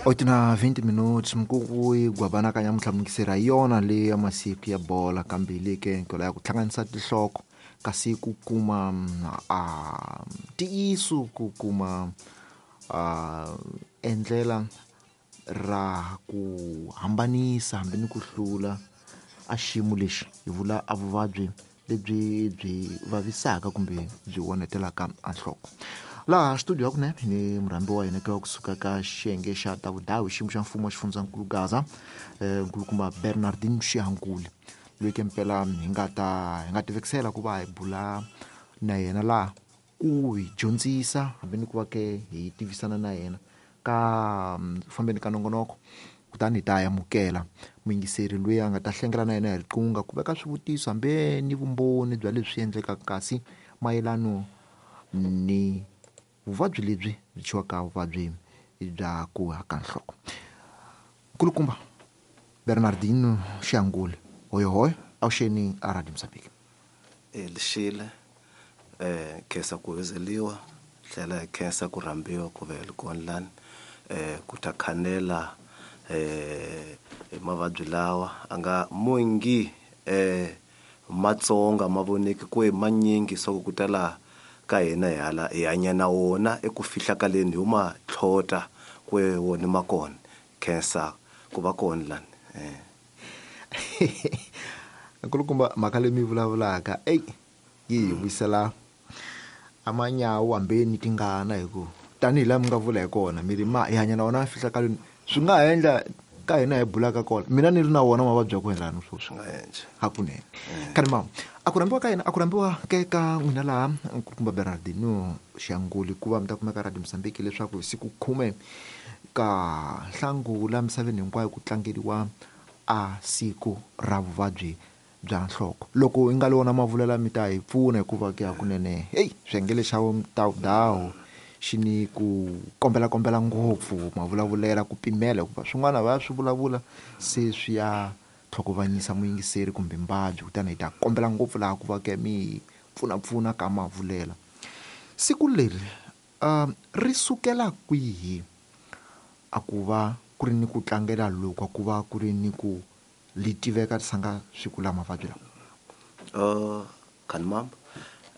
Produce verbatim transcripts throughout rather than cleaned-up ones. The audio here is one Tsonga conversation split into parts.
Oito na vinte minutos mkuku yi gwabana ka nyamuntlha mukisera hi yona leyi ya masiku ya bola kambe leyi ke nkolo ya ku hlanganisa tinhloko kasi ku kuma a ntiyiso ku kuma a endlela ra ku hambanisa hambi ni ku hlula a xiyimo lexi hi vula a vuvabyi lebyi byi vavisaka kumbe byi onhetelaka a nhloko. Laha studio ya kunene ni murhambi wa hina ka kusuka ka xiyenge xa ta vudawu xiyimo xa mfumo wa xifundzankulu Gaza nkulukumba Bernardin Xihankuli loyi ke mpela hi nga ta hi nga tivekisela ku va hi bula na yena laha ku hi dyondzisa hambi ni ku va ke hi tivisana na yena ka fambeni ka nongonoko kutani hi ta amukela muyingiseri loyi a nga ta hlengela na yena hi riqingho ku veka swivutiso hambi ni vumbhoni bya leswi endlekaka kasi mayelano ni vuvabyi lebyi byi thyiwaka vuvabyi bya ku haka nhloko. Nkulukumba Bernardino Xihankuli, hoyohoyo avuxeni a Radio Mozambique. E lexile eh khensa ku vizeliwa tlhela hi khensa ku rhambiwa ku ve kona lani eh ku ta khanela eh hi mavabyi lawa a nga mongi eh matsonga ma voneki ku hi manyingi swa ku tala ka hina hi hala hi hanya na wona eku fihlakaleni hi ma tlhota ku wona ma kona khensa ku va kona lani eh nkulukumba mhaka leyi mi vulavulaka ey yi hi vuyisela amanyawu hambi ni tingana hi ku tanihi laha mi nga vula hi kona mi ri ma hi hanya na wona fihlakaleni swi nga ha endla ka hina hi bulaka kona mina ni ri na wona mavabyi ya ku endla ni sweswi swi nga endla hakunene kani mama a ku rhambiwa ka hina a ku rhambiwa ke ka n'wina laha nkulukumba Bernardino Xihankuli ku va mi ta kumeka Radio Mozambique leswaku hi siku khume ka Nhlangula misaveni hinkwayo ku tlangeriwa a siku ra vuvabyi bya nhloko. Loko hi nga li wona mavulela mi ta hi pfuna hikuva ke hakunene heyi swiyenge xa vudawu xi ni ku kombela kombela ngopfu mavulavulela ku pimela hikuva swin'wana va swi vulavula se swi ya tlhokovanyisa muyingiseri kumbe mbabyi kutani hi ta kombela ngopfu laha ku va ke mi pfunapfuna ka mavulela. Siku leri um ri sukela kwihi a ku va ku ri ni ku tlangela loku a ku va ku ri ni ku li tiveka sanga siku la mavabyi lawa? Uh khanimamba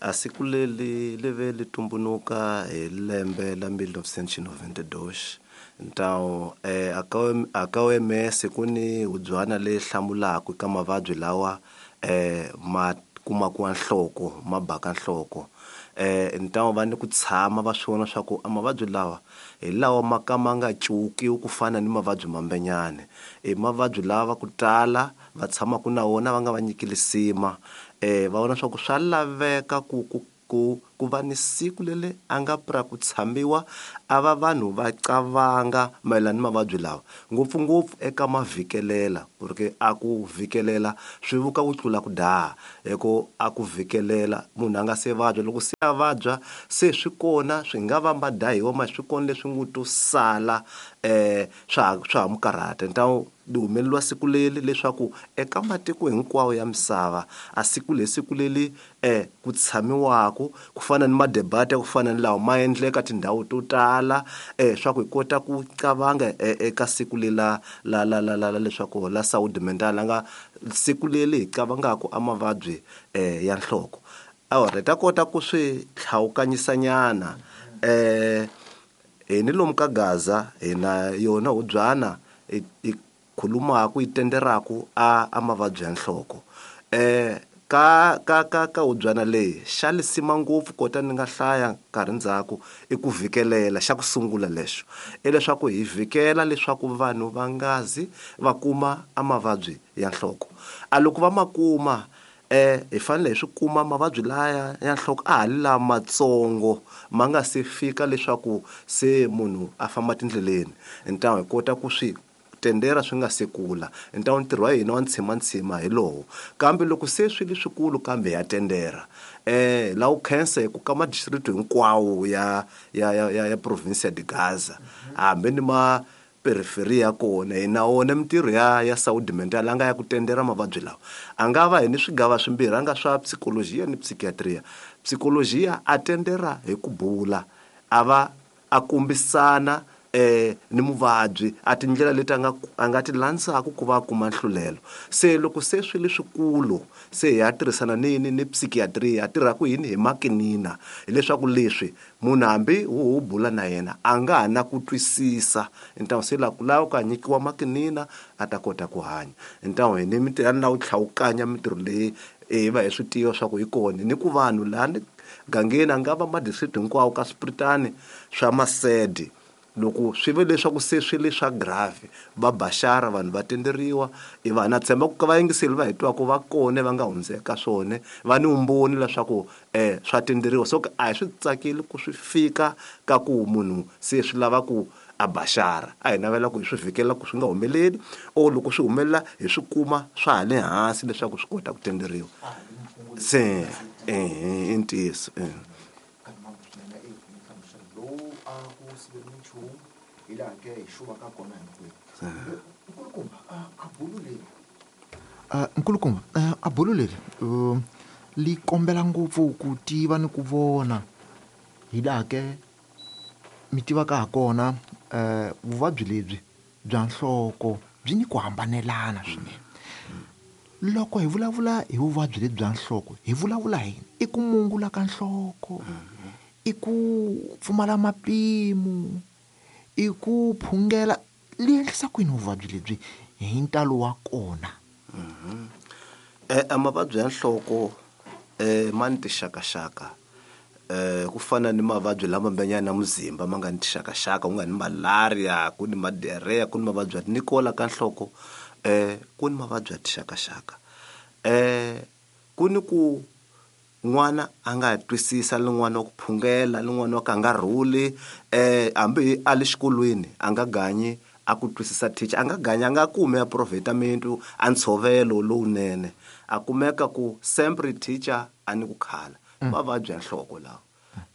a siku leri li ve li tumbunuka hi lembe la mil novecentos e noventa e dois ntawu eh aka aka O M S ku ni hubyana leyi hlamulaka ka mavabyi lawa eh ma kumaka nhloko ma baka nhloko eh ntawu va ni ku tshama va swi vona swa ku a mavabyi lawa hi lawa ma ka ma nga cukiwi ku fana ni mavabyi mambenyane i mavabyi lawa ku tala va tshamaka na wona va nga va nyiki lisima eh va vona swa ku swa laveka ku ku ku ku va ni siku lele a nga pra ku tshamiwa a va vanhu va qavanga mayelana ni mavabyi lawa ngopfungopfu eka mavhikelela porque a ku vhikelela swi vuka ku tlula ku daha hi ku a ku vhikelela munhu a nga se vabya loko se a vabya se swi kona swi nga va ma dahiwa ma swi kona leswi ngo to sala eh swa swa ha mu karhata ntawu li humeleliwa siku leri leswaku eka matiko hinkwawo ya misava a siku leri siku leri eh ku tshamiwaka ku fana ni madebate ku fana ni lawa ma endleka tindhawu to tala eh swa ku hi kota ku qavanga eka siku leri la la la la la leswaku la saúde mental nga siku leri hi qavangaka a mavabyi eh ya nhloko awara hi ta kota ku swi tlhawukanyisanyana eh hi ni lomu ka Gaza hi na yona hubyana i khulumaka yi tenderaka a a mavabyi ya nhloko eh ka ka ka ka hubyana leyi xa lisima ngopfu kota ni nga hlaya nkarhi ndzhaku i ku vhikelela xa ku sungula lexo i leswaku hi vhikela leswaku vanhu va nga zi va kuma a mavabyi ya nhloko a loko va ma kuma eh hi fanele hi swi kuma mavabyi laya ya nhloko a ha li lamatsongo ma nga se fika leswaku se munhu a famba tindleleni ntawu hi kota ku swi tendera swi nga se kula ntawu ntirho wa hina wa ntshima hi lowo kambe loko se swi li swikulu kambe ya tendera eh la u khensa hi ku ka madistrict hinkwawo ya ya ya ya province ya de Gaza hambi ni ma periferia ya kona hi na wona mintirho ya ya saúde mental a nga ya ku tendera mavabyi lawa a nga va hi ni swigava swimbirhi a nga swa psychologia ni psychiatria psychologia a tendera hi ku bula a va a kombisana eh ni muvabyi a tindlela leti a nga a nga ti landzaka ku va kuma nhlulelo. Se loko se swi leswikulu se hi ya tirhisana ni ni ni psychiatry ya tirha ku yini hi makinina, hileswaku leswi munhu hambi wu wu bula na yena a nga ha na ku twisisa. Ntawo se la ku lava ku nyikiwa makinina a ta kota ku hanya. Ntawo hi ni mintirho na ku tlhawukanya mintirho leyi hi va hi swi tiva swa ku hi kona ni ku vanhu laha ni gangeni a nga va ma-district hinkwawo ka swipiritani swa masede. Loko swi ve leswaku se swi le swa grave va baxara vanhu va tenderiwa i vanhu na tshemba ku va yingiseli va hi twaka va kona va nga hundzeka swona va ni vumbhoni leswaku eh swa tenderiwa. So a hi swi tsakeli ku swi fika ka ku munhu se swi lava ku a baxara, a hi navela ku hi swi vhikela ku swi nga humeleli or loko swi humelela hi swi kuma swa ha le hansi leswaku swi kota ku tenderiwa. Se eh i ntiyiso eh Nkulukumba a bulu leri li kombela ngopfu ku tiva ni ku vona hi laha ke mi tivaka ha kona vuvabyi lebyi bya nhloko byi ni ku hambanelana swinene. Loko hi vulavula hi vuvabyi lebyi bya nhloko hi vulavula hi i ku mungula ka nhloko, i ku pfumala mapimo, i ku phungela. Li endlisa ku yini vuvabyi lebyi hi ntalo wa kona? Eh mavabyi ya nhloko eh ma ni tixakaxaka eh ku fana ni mavabyi lama mbanyana muzimba ma nga ni tixakaxaka, ku nga ni malaria, ku ni diarrhea, ku ni mavabyi ya nikola ka nhloko eh ku ni mavabyi ya tixakaxaka. Eh ku ni ku n'wana a nga twisisa lin'wana wa ku phungela, lin'wana wa ka nga rhuli eh hambi a le xikolweni a nga ganyi a ku twisisa teacher, a nga ganyi a nga kumi a provetamintu a ntshovelo lowunene, a kumeka ku sempre teacher a ni ku khala. Mavabyi ya nhloko lawa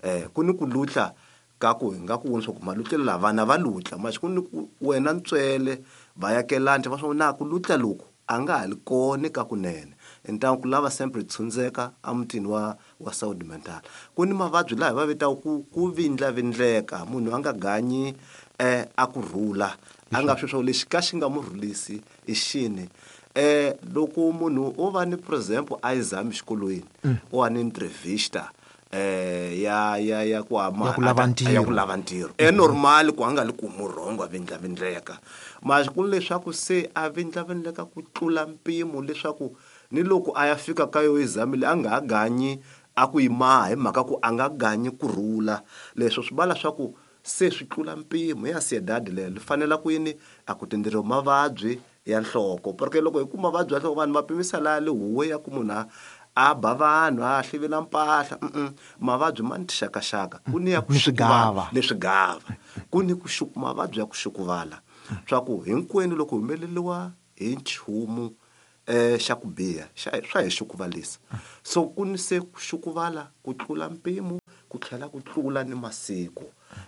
eh ku ni ku lutla ka ku hi nga ku vona swa ku malutlelo la vana va lutla manje ku ni ku wena ntswele va yakelani va swa na ku lutla loku a nga ha li kona ka kunene. Ntangu ku lava sempre tshundzeka emutini wa wa saúde mental. Ku ni mavabyi laha hi va vitaka ku ku vindlavindleka, munhu a nga ganyi eh a ku rhula a nga swi swa lexi ka xi nga mu rhulisi i xini. Eh loko munhu o va ni for example a exam xikolweni o va ni entrevista eh ya ya ya ku ama Ya ku lava ntirho. ya ku lava ntirho e normal ku a nga li ku murhongo a vindlavindleka manje ku leswaku se a vindlavindleka ku tlula mpimo leswaku ni loko a ya fika ka yo exam leyi a nga ha ganyi a ku yi maha hi mhaka ku a nga ganyi ku rhula. Leswo swi vala swa ku se swi tlula mpimo ya ansiedade leyo li fanela ku yini a ku tenderiwa mavabyi ya nhloko. Porque loko hi kuma mavabyi ya nhloko vanhu va pimisa laha le huwe ya ku munhu a a ba vanhu a hlivela mpahla. Mavabyi ma ni tixakaxaka, ku ni ya ku Ni swigava. ni swigava, ku ni ku xuku mavabyi ya ku xukuvala swa ku hinkwenu loko humeleriwa hi nchumu eh xa ku biha xa swa hi xukuvalisa. So ku ni se ku xukuvala ku tlula mpimo ku tlhela ku tlula ni masiku.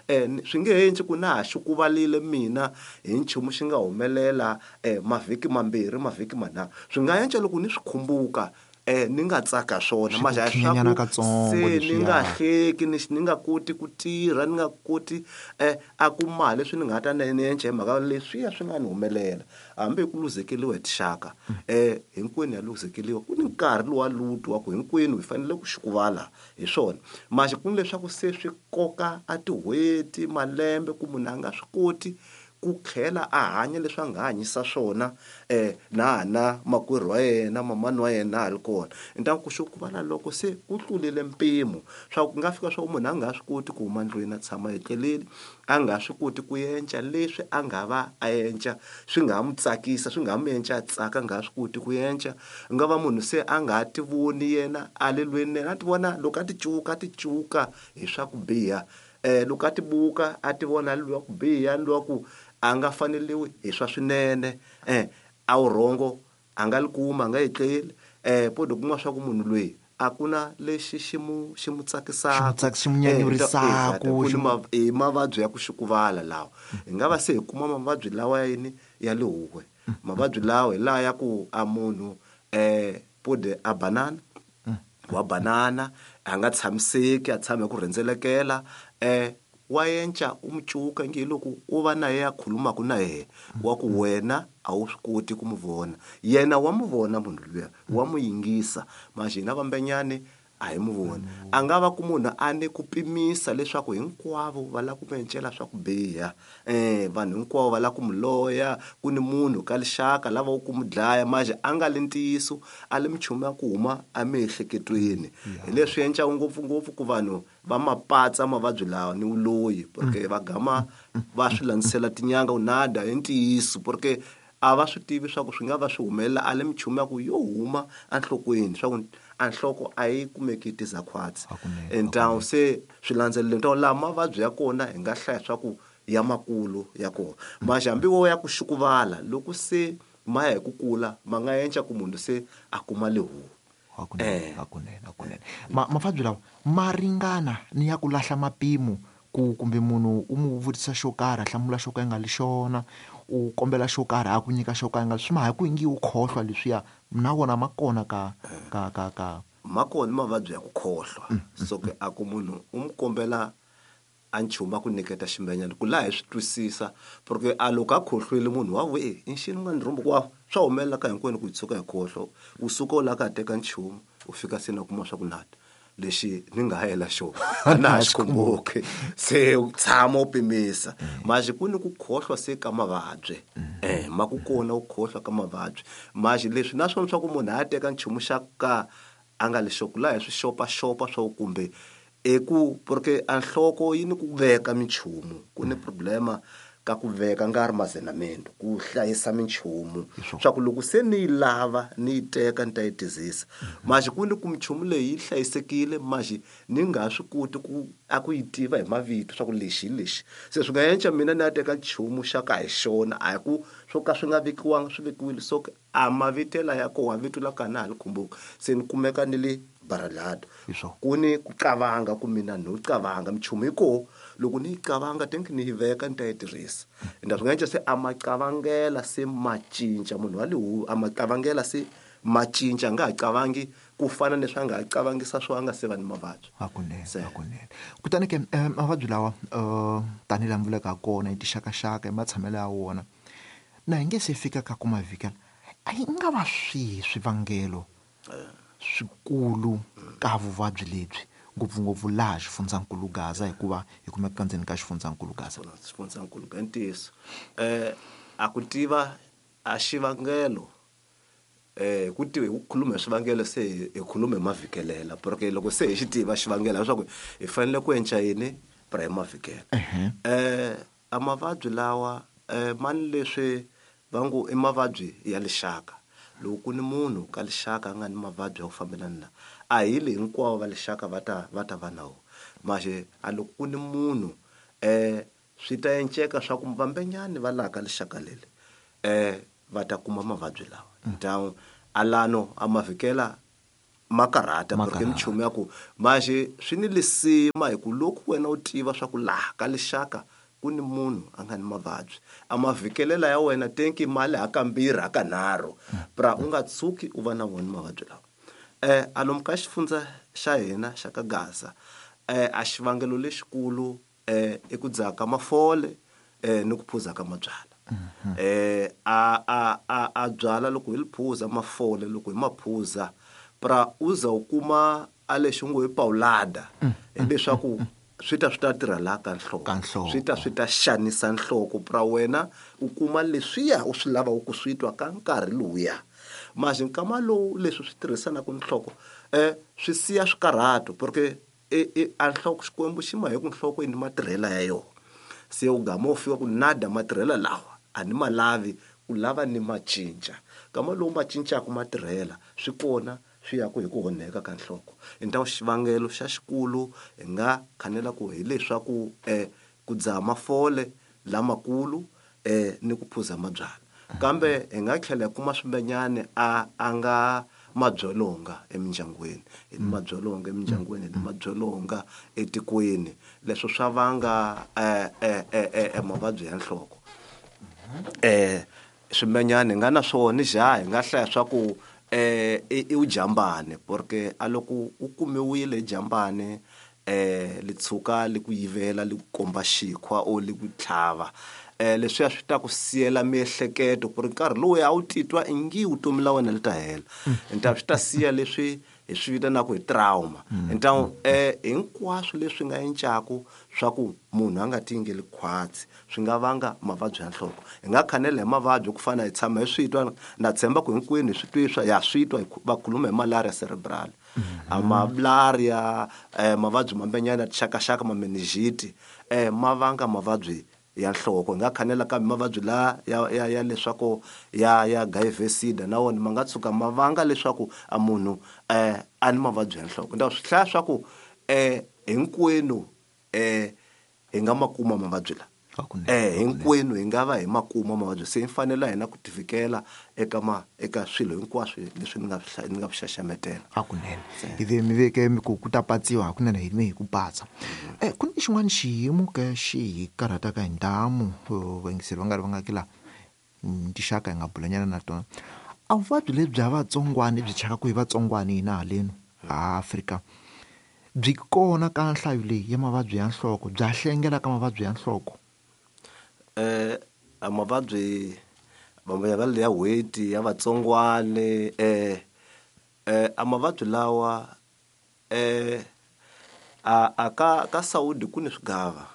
Eh swi nge endli ku na ha xukuvalile mina hi nchumu xi nga humelela eh mavhiki mambirhi mavhiki manharhu, swi nga endla loko ni swi khumbuka eh ni nga tsaka swona Swi manje ku a swa khinyanyana ku katsongo se ni leswiya. nga hleki ni ni nga koti ku tirha ni nga koti eh a ku ma leswi ni nga ta ni endla hi mhaka leswiya swi nga ni humelela. Hambi hi ku luzekeriwa hi tixaka eh hinkwenu ya luzekeriwa, ku ni nkarhi lowa lutu wa ku hinkwenu hi fanele ku xukuvala hi swona. Manje ku ni leswaku se swi koka a tin'hweti malembe ku munhu a nga swi koti ku tlhela a hanya leswi a nga hanyisa swona eh na na makwerhu wa yena mamani wa yena ha ri kona. Ntangu ku xukuvala loko se ku tlulile mpimo swa ku nga fika swa ku munhu a nga swi koti ku huma ndlwini a tshama etleleni, a nga swi koti ku endla leswi a nga va a endla swi nga ha mu tsakisa swi nga ha mu endla a tsaka, a nga swi koti ku endla. Nga va munhu se a nga ha ti voni yena a le lweni a ti vona loko a ti cuka a ti cuka hi swa ku biha eh loko a ti buka a ti vona loyi wa ku biha loyi wa ku a nga faneliwi hi swa swinene eh a wu rhongo a nga li kuma a nga etleli eh po kuma swa ku munhu loyi a ku na lexi xi mu xi mu tsakisaka Xi mu xi mu nyanyurisaku, ku xi ni mu ma i mavabyi ya ku xukuvala lawa. Hi nga va se hi kuma mavabyi lawa ya yini ya le huwe mavabyi lawa hi laha ya ku a munhu eh pode a banana wa banana a nga tshamiseki a tshama hi ku rhendzelekela eh wa yenca u mucuka nge loko u va na yena a khulumaka na yena wa ku wena a wu swi koti ku mu vona yena wa mu vona munhu luya wa mu yingisa manje hina vambenyane a hi mu voni a nga va ku munhu a ni ku pimisa leswaku hinkwavo va lava ku mu encela swa ku biha eh vanhu hinkwavo va lava ku mu loya ku ni munhu ka lixaka lava ku mu dlaya manje a nga le ntiyiso a le minchumu ya ku huma emiehleketweni hi leswi encaka ngopfungopfu ku vanhu va mapatsa mavabyi lawa ni vuloyi porque va gama va swi landzisela tinyanga u nada hi ntiyiso porque a va swi tivi swa ku swi nga va swi humelela a le minchumu ya ku yo huma enhlokweni swa ku a nhloko a yi kumeki tizakhwatsi entawu se swi landzelelo ntawu laha mavabyi ya kona hi nga hlaya swa ku ya makulu ya kona manje hambi wo ya ku xukuvala loko se ma ya hi ku kula ma nga enca ku munhu se a kuma lehu hakunene hakunene hakunene mavabyi lawa ma ringana ni ya ku lahla mapimo ku kumbe munhu u mu vutisa xo karhi a hlamula xo ka nga li xona u kombela xo karhi a ku nyika xo ka nga swi ma hi ku ingi u khohlwa leswiya na wona ma kona ka ka ka ka ma kona mavabyi ya ku khohlwa so ke a ku munhu u mu kombela a nchumu a ku nyiketa ximbenyana ku laha hi swi twisisa porque a loko a khohlwile munhu wa vu e i nxini nga ni rhumbu ku swa humelela ka hinkwenu ku hi tshuka hi khohlwa u suka u lava ka ha teka nchumu u fika se na kuma swa ku nata lexi ni nga hela xona a na ha xi khumbuki se u tshama u pimisa manje ku ni ku khohlwa se ka mavabyi eh ma ku kona u khohlwa ka mavabyi manje leswi naswona swa ku munhu a teka nchumu xa ka a nga lexo ku laha hi swi xopaxopa swa kumbe eku porque a nhloko yi ni ku veka minchumu ku ni problema ka ku veka nga ri mazenamendo ku hlayisa minchumu swa ku loko se ni yi lava ni yi teka ni ta yi tizisa manje ku ni ku minchumu leyi yi hlayisekile manje ni nga swi koti ku a ku yi tiva hi mavito swa ku lexi hi lexi se swi nga enca mina ni ya teka nchumu xa ka hi xona a hi ku swo ka swi nga vekiwanga swi vekiwile so a mavitela ya koho vito la ka na ha li khumbuka se ni kumeka ni le baralado ku ni ku qavanga ku mina no qavanga minchumu yi koho loko ni yi qavanga tenki ni yi veka ni ta yi tirhisa ende swi nga enca se a ma qavangela se ma cinca munhu wa lehu a ma qavangela se ma cinca a nga ha qavangi ku fana ni swi a nga ha qavangisa swo a nga se va ni mavabyi hakunene hakunene kutani ke mavabyi lawa tanihi laha mi vulaka ha kona hi tixakaxaka hi matshamelo ya wona na hi nge se fika ka ku mavikela a yi nga va swihi swivangelo swikulu ka vuvabyi lebyi ngopfungopfu laha xifundzankulu Gaza hikuva hi kumeka ndzeni ka xifundzankulu Gaza xifundzankulu ka ntiyiso eh a ku tiva a xivangelo eh ku tiva hi ku khuluma hi swivangelo se hi khuluma hi mavhikelela porque loko se hi xi tiva xivangelo leswaku hi fanele ku enca yini pra hi mavikela eh a mavabyi lawa eh mani leswi va ngo i mavabyi ya lixaka loko ku ni munhu ka lixaka a nga ni mavabyi ya ku fambelana na a hi le hinkwavo va lixaka va ta va ta va na wona manje a loko ku ni munhu eh swi ta enceka swa ku vambenyani va laha ka lixaka leli eh va ta kuma mavabyi lawa ntawu alano a mavikela ma karhata porque minchumu ya ku manje swi ni lisima hi ku loko wena u tiva swa ku laha ka lixaka ku ni munhu a nga ni mavabyi a mavhikelela ya wena tenki mali hakambirhi hakanharhu pra u nga tshuki u va na wona mavabyi lawa eh a lomu ka xifundza xa hina xa ka Gaza eh a xivangelo lexikulu eh i ku dzaha ka mafole eh ni ku phuza ka mabyala eh a a a a byala loko hi li phuza mafole loko hi maphuza pra u za u kuma a lexi ngo hi paulada hileswaku swi ta swi ta tirha laha ka nhloko swi ta swi ta xanisa nhloko pra wena u kuma leswiya u swi lavaka ku swi twa ka nkarhi lowuya manje nkama lowu leswi swi tirhisanaka nhloko eh swi siya swikarhato porque e a nhloko Xikwembu xi ma hi ku nhloko yi ni matirhela ya yona se u gama u fika ku nada matirhela lawa a ni ma lavi u lava ni ma cinca kama lowu ma cincaka matirhela swi kona swi ya ku hi ku onheka ka nhloko hi xivangelo xa xikulu hi nga khanela ku hileswaku eh ku dzaha mafole lamakulu eh ni ku phuza mabyala kambe hi nga tlhela hi kuma swimbenyane a a nga madzolonga emindyangwini hi ni madzolonga emindyangwini hi ni madzolonga etikweni leswo swa vanga eh eh eh mavabyi ya nhloko eh swimbenyane hi nga na swona ja hi nga hlaya swa ku eh i ujambane porque a loko u kumiwile jambane eh li tshuka li ku yivela li ku komba xikhwa o li ku tlhava eh leswiya swi ta ku siyela miehleketo ku ri nkarhi lowu a wu titwa ingi vutomi la wena li ta hela nta swi ta siya leswi hi swi vitanaka hi trauma nta eh hinkwaswo leswi nga encaku swa ku munhu a nga tingeli khwatsi swi nga vanga mavabyi ya nhloko hi nga khanela hi mavabyi ku fana hi tshama hi swi twa na tshemba ku hinkwenu hi swi twiswa ya swi twa va khuluma hi malaria cerebral a malaria eh mavabyi mambenyana tixakaxaka ma meningite eh ma vanga mavabyi ya nhloko hi nga khanela kambe mavabyi la ya ya ya leswaku ya ya H I V SIDA na wona ma nga tshuka ma vanga leswaku a munhu eh a ni mavabyi ya nhloko nda swi hlaya swa ku eh hinkwenu eh hi nga makuma mavabyi la eh hinkwenu hi nga va hi makuma mavabyi se hi fanele hina ku tivikela eka ma eka swilo hinkwaswo leswi ni nga ni nga xaxametela hakunene ivi mi veke mi ku ku ta patsiwa hakunene hi mi hi ku patsa eh ku ni xin'wana xiyimo ke xi hi karhataka hi ntamu vayingiseri va nga ri va nga ki la tixaka hi nga bulanyana na tona a vuvabyi lebyi bya vatsongwana byi chaka ku hi vatsongwana hina halenu a Afrika byi kona ka nhlayo leyi ya mavabyi ya nhloko bya hlengela ka mavabyi ya nhloko eh a mavabyi va ya weti ya vatsongwane eh eh a mavabyi lawa eh a a ka ka Saudi ku ni swigava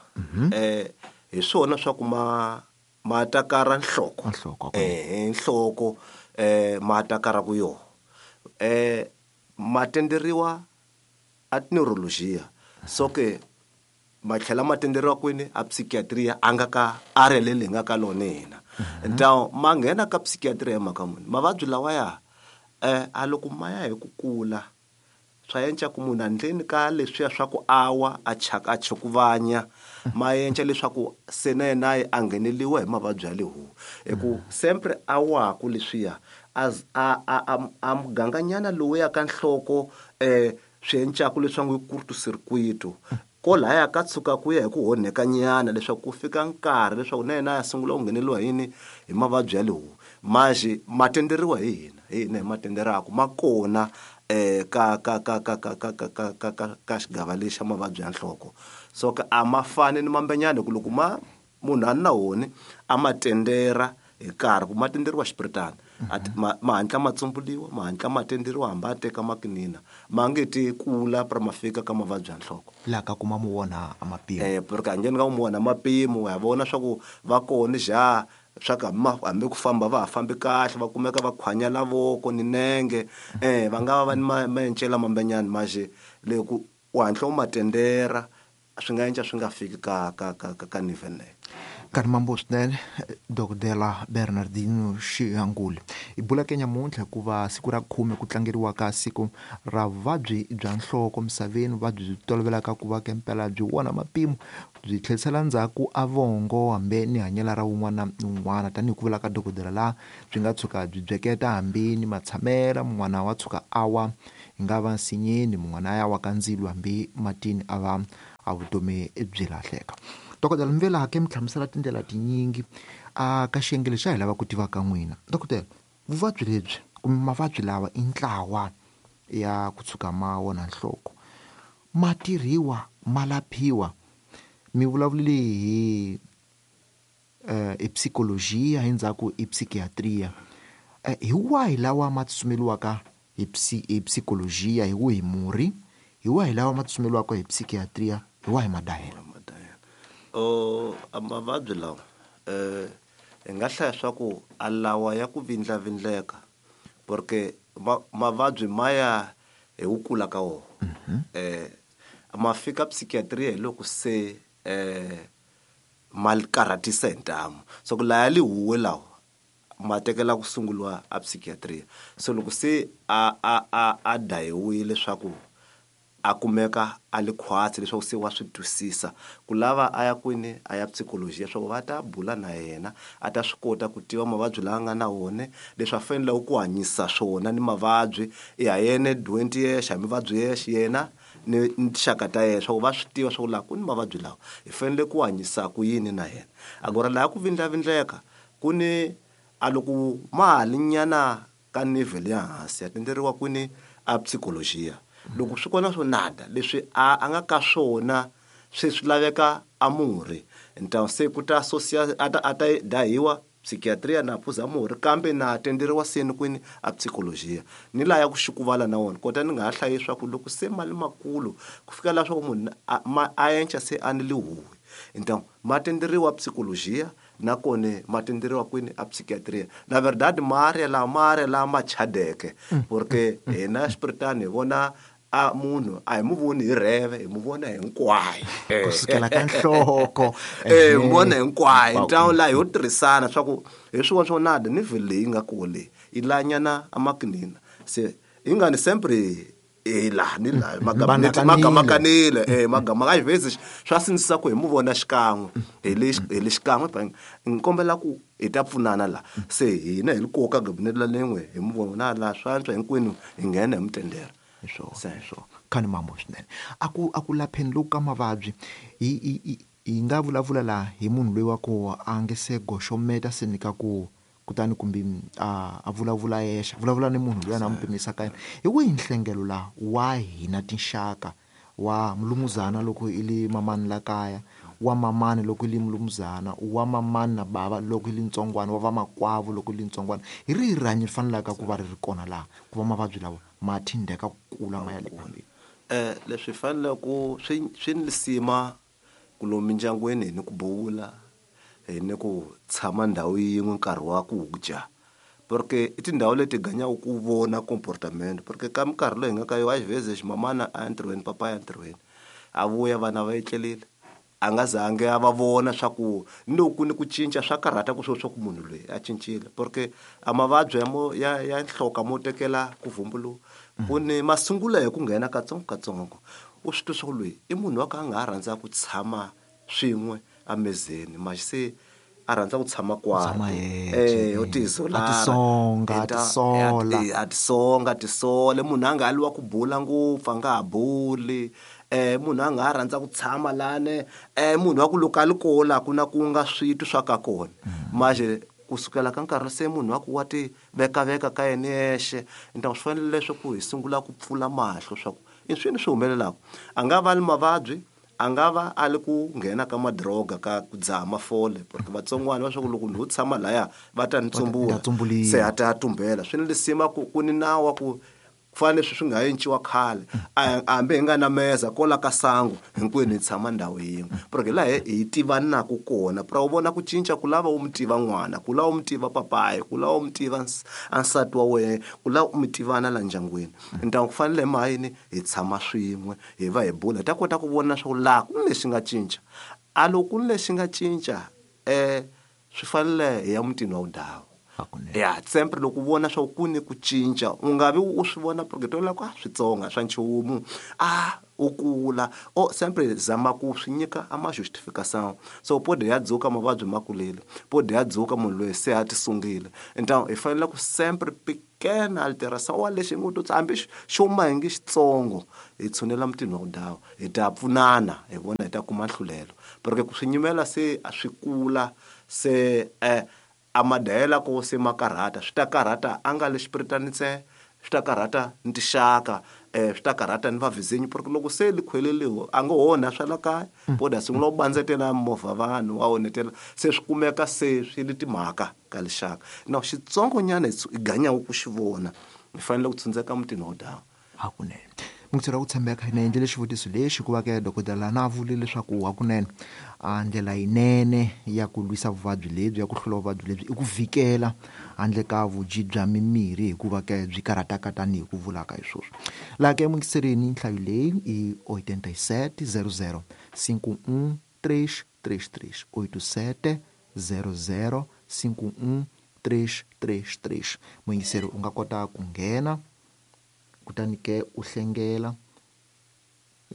eh hi swona swa ku ma ma takara nhloko eh nhloko eh ma takara ku yo eh ma tenderiwa a neurologia so ke ma tlhela ma tenderiwa kwini a psychiatria a nga ka a relele nga ka lona hina ntawo ma nghena ka psychiatria mhaka muni mavabyi lawa ya eh a loko ma ya hi ku kula swa enca ku munhu andleni ka leswiya swa ku awa a chaka a chukuvanya ma enca leswaku se na yena a ngheneliwa hi mavabyi ya lehu hi ku sempre awaku leswiya as a a a muganganyana lowu ya ka nhloko eh swi encaku leswaku i court-circuit ko laya ka tshuka ku ya hi ku honheka nyana leswaku ku fika nkarhi leswaku na yena ya sungula ku ngheneliwa yini hi mavabyi ya lehu manje ma tenderiwa hi hina hi hina hi ma tenderaku ma kona eh ka ka ka ka ka ka ka ka ka ka ka xigava lexi xa mavabyi ya nhloko so ka a ma fani ni mambenyana ku loko ma munhu a na wona a ma tendera hi nkarhi ku ma tenderiwa xipiritana ma ma hatla ma tsumbuliwa ma hatla ma tenderiwa hambi a teka makinina ma nge ti kula pra ma fika ka mavabyi ya nhloko la ka kuma mu wona a mapimo eh porque anjeni ka mu wona mapimo ya vona swa ku va kona ja swa ka hambi ku famba va ha fambi kahle va kumeka va khwanya lavoko ni nenge eh va nga va ni maencela mambenyana manje loko u hatla u ma tendera swi nga enca swi nga fiki ka ka ka ka nivel leyo. Nkarhi mambo swinene Dokodela Bernardino Shihangule hi bula ke nyamuntlha hikuva siku ra khume ku tlangeriwa ka siku ra vuvabyi bya nhloko misaveni vuvabyi byi tolovelaka ku va ke mpela byi wona mapimo byi tlherisela ndzhaku a vongo hambi ni hanyela ra wun'wana ni wun'wana tanihi ku vula ka dokodela laha byi nga tshuka byi byeketa hambi ni matshamela mun'wana wa tshuka a wa hi nga va nsinyeni mun'wana a ya wa ka ndzilo hambi matini a va a vutomi byi lahleka. Dokodela Mvela ke mi hlamusela tindlela tinyingi a ka xiyenge lexi a hi lava ku tiva ka n'wina. Dokodela, vuvabyi lebyi kumbe mavabyi lawa i ntlawa ya ku tshuka ma wona nhloko ma tirhiwa ma laphiwa mi vulavulile hi eh i psychologia hi ndzhaku i psychiatria eh hi wahi lawa ma tsutsumeliwaka hi hi psychologia hi wihi murhi hi wahi lawa ma tsutsumeliwaka hi psychiatria hi wahi madahela? O mavabyi lawa eh hi nga hlaya swa ku a lawa ya ku vindlavindleka porque mavabyi ma ya hi ku kula ka wona eh ma fika psychiatria hi loko se eh ma karhatisa hi ntamu so ku laya lihuwe lawa ma tekela ku sunguriwa a psychiatria so loko se a a a a dayiwile leswaku a kumeka a li khwatsi leswaku se wa swi twisisa ku lava a ya kwini a ya psychology leswaku va ta bula na yena a ta swi kota ku tiva mavabyi lawa nga na wona leswi a faneleke ku hanyisa swona ni mavabyi ya yena twenty years hambi mavabyi yexe yena ni tinxaka ta yena leswaku va swi tiva swa ku laha ku ni mavabyi lawa hi fanele ku hanyisa ku yini na yena agora laha ku vindlavindleka ku ni a loko ma ha li nyana ka nivel ya hansi ya tenderiwa kwini a psychologia Loko swi kona swo nada leswi a a nga ka swona swi swi laveka a murhi. Ntawu se ku ta social a ta a ta dahiwa psychiatria na phuza murhi kambe na tenderiwa seni kwini a psychologia. Ni laya ku xikuvala na wona kota ni nga ha hlayi swa ku loko se mali makulu ku fika la swa ku munhu a ma a enca se a ni lihuwi. Então ma tenderiwa psychologia na kone ma tenderiwa kwini a psychiatria. Na verdade maria la maria la ma chadeke porque hina Spiritani hi vona a munhu a hi mu voni hi rheve hi mu vona hinkwayo kusukela ka nhloko eh mu vona hinkwayo. Ntawu la ho tirhisana swa ku hi swin'wana swo nada ni vhele leyi nga kona leyi yi lanyana amakinina se hi nga ni sempre e la ni la magamakanile eh magama ka xivezi swa sindzisa ku hi mu vona xikan'we hi le hi le xikan'we ni kombela ku hi ta pfunana la se hina hi li koka gabinete la lengwe hi mu vona la swa antswa hinkwenu hi nghena hi mutendera. Swo swo khani mambo swinene a ku a ku lapheni loku ka mavabyi hi hi hi nga vulavula la hi munhu loyi wa ku a nge se goxometa se nyika ku kutani kumbe a a vulavula yexe vulavula ni munhu loyi a na mu pimisa ka yena hi wihi nhlengelo la wa hina tinxaka wa mulumuzana loko i li mamani la kaya wa mamani loko i li mulumuzana wa mamani na bava loko i li ntsongwana wa vamakwavo loko i li ntsongwana hi rihi rihanyo ri fanelaka ku va ri ri kona laha ku va mavabyi lawa ma thindeka ku kula ma ya le phambili? Eh leswi fanele ku swi swi ni lisima ku lomu mindyangwini ni ku bula hi ni ku tshama ndhawu yin'we nkarhi wa ku dya porque i tindhawu leti ganyaka ku vona comportment porque ka minkarhi loyi hi nga ka yo a xiveze ximamana a entirhweni papa ya entirhweni a vuya vana va etlelile a nga zangi a va vona swa ku ni loko ni ku cinca swa karhata ku swo swa ku munhu loyi a cincile porque a mavabyi ya mo ya ya nhloko mo tekela ku vumbuluka ku ni masungulo hi ku nghena katsongo katsongo u swi twa swa ku loyi i munhu wa ka a nga ha rhandza ku tshama swin'we amezeni manje se a rhandza ku tshama kwakwe eh u tisola a tisonga a tisola a tisonga tisole munhu a nga ha liwa ku bula ngopfu a nga ha buli eh munhu a nga ha rhandza ku tshama lane eh munhu wa ku loko a li kola ku na ku nga switwi swa ka kona manje kusukela ka nkarhi se munhu wa ku wa ti veka veka ka yena yexe ntawu swi fanele leswaku hi sungula ku pfula mahlo swa ku i swini swi humelelaka a nga va ni mavabyi a nga va a li ku nghena ka madroga ka ku dzaha mafole porque vatsongwana va swa ku loko ni ho tshama laya va ta ni tsumbula se a ta tumbela swi ni lisima ku ku ni nawu wa ku fana leswi swi nga enciwa khale a hambi hi nga na meza kola ka sangu hinkwenu hi tshama ndhawu yin'we porque laha hi tivanaka kona pra u vona ku cinca ku lava u mi tiva n'wana ku lava u mi tiva papayi ku lava u mi tiva a nsati wa wena ku lava u mi tivana la ndyangwini ntawu ku fanele ma yini hi tshama swin'we hi va hi bula hi ta kota ku vona swa ku laha ku ni lexi nga cinca a loko ku ni lexi nga cinca um swi fanele hi ya mutini wa wudawu ya sempre loko u vona swa ku ni ku cinca u nga vi u swi vona porque tola ku a switsonga swa nchumu a u kula o sempre zama ku swi nyika a ma justification so pode ya dzuka mavabyi ma kulile pode ya dzuka munhu loyi se a tisungile ntawu hi fanele ku sempre pequena alteração wa lexi ngo to hambi xo ma hi nge xitsongo hi tshunela mutini wa wudawu hi ta pfunana hi vona hi ta kuma nhlulelo porque ku swi nyimela se a swi kula se eh a madayela ko se ma karhata swi ta karhata a nga le Xipiritani ntsena swi ta karhata ni tixaka eh swi ta karhata ni vavizinyi porque loko se li khweleliwe a ngo onha swa la kaya poda sungula u bandzetela movha vanhu wa onhetela se swi kumeka se swi li timhaka ka lixaka na xitsongonyana hi ganyaka ku xi vona hi fanele ku tshundzeka mutini wa dawu hakunene mungitseri wa ku tshembeka hina endlele xivutiso lexi hikuva ke dokodela na vule leswaku hakunene a ndlela yinene ya ku lwisa vuvabyi lebyi ya ku hlula vuvabyi lebyi i ku vikela handle ka vudyi bya mimirhi hikuva ke byi karhataka tanihi ku vulaka hi swoswo laha ke mungiserini nhlayo leyi i oitenta e sete zero zero cinco um três três três oito sete zero zero cinco um três três três muyingiseri u nga kota ku nghena kutani ke u hlengela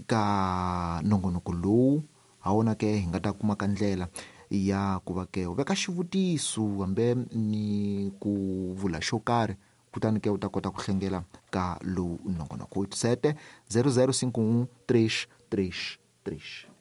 ka nongonoko lowu ha wona ke hi nga ta kuma ka ndlela ya ku va ke u veka xivutiso hambi ni ku vula xo karhi kutani ke u ta kota ku hlengela ka lowu nongonoko oito sete zero zero cinco um três três três.